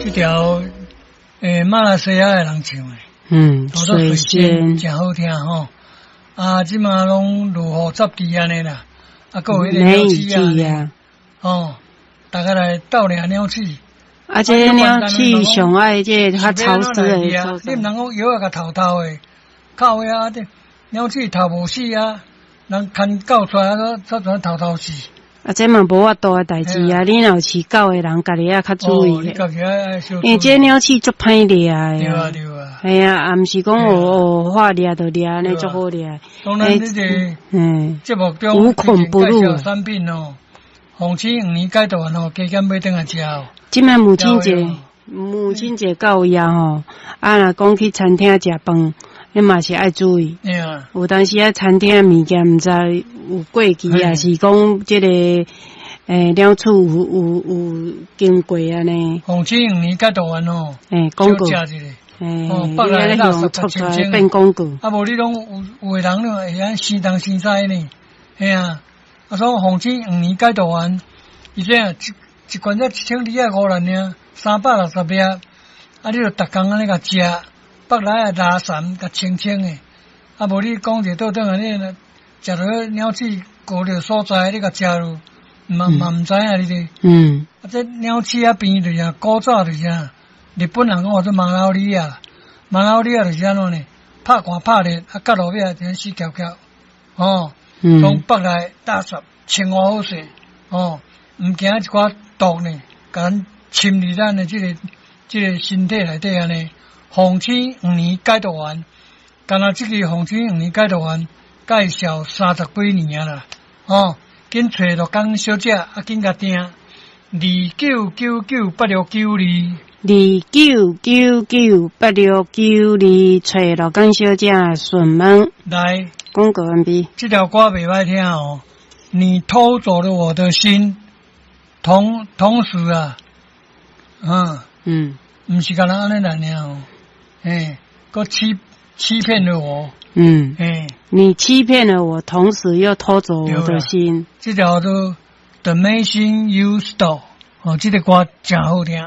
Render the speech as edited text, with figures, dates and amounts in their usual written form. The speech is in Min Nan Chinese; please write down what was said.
這條馬來西亞的人唱的，叫做水仙，誠好聽吼。啊，這馬攏落雨十滴按呢啦，啊，閣有彼個梅雨鳥鼠季啊。吼，大家來鬥掠鳥鼠。啊，這个鳥鼠上愛這個較潮濕的所你毋在。通講藥仔共偷偷的，靠遐這鳥鼠頭無死啊，人牽狗出來啊，煞怎偷偷死？啊，這嘛無法度的代誌啊！你若有飼狗的人，家己也較注意。你家己愛小因為這鳥鼠足歹掠的。對啊對啊。嘿啊，啊，毋是講哦哦，話掠就掠，按呢足好掠。當咱這個節目中無孔不入介紹產品哦，鳳翅黃連解毒丸哦，加減買轉來食哦。這擺母親節，母親節到呀吼，啊，若講去餐廳食飯，你嘛是愛注意。有當時啊，餐廳物件毋知有過期，抑是講這個鳥鼠有經過按呢。鳳翅黃連解毒丸哦，廣告。少食一下。哦，北來垃圾出來變廣告。啊，無你攏有的人攏會按生東生西呢，嘿啊。啊，所以鳳翅黃連解毒丸，伊這樣一罐才1250爾，360粒，啊，你就逐工按呢共食，腹內的垃圾共清清的。啊，無你講者倒轉來，你若食著鳥鼠糊著所在，你共食落，嘛嘛毋知影你咧。啊，這鳥鼠仔病就是啥，古早就是啥，日本人講話做馬拉利亞，馬拉利亞就是按怎呢？拍寒拍熱，啊，到落尾就死翹翹，哦，從腹內垃圾清好勢，哦，毋驚一寡毒呢，共咱侵入咱的這個身體內底按呢。鳳翅黃連解毒丸，干焦這支鳳翅黃連解毒丸介紹30幾年啊啦，哦，緊揣陸江小姐，啊，緊共訂29998692。29998692，揣陸江小姐順問。來，廣告完畢。這條歌袂歹聽哦，你偷走了我的心，同時啊，毋是干焦按呢來爾哦，嘿，閣欺騙了我，嘿，你欺騙了我，同時又偷走我的心。這條叫做 The Medicine You Stole，哦，這個歌誠好聽。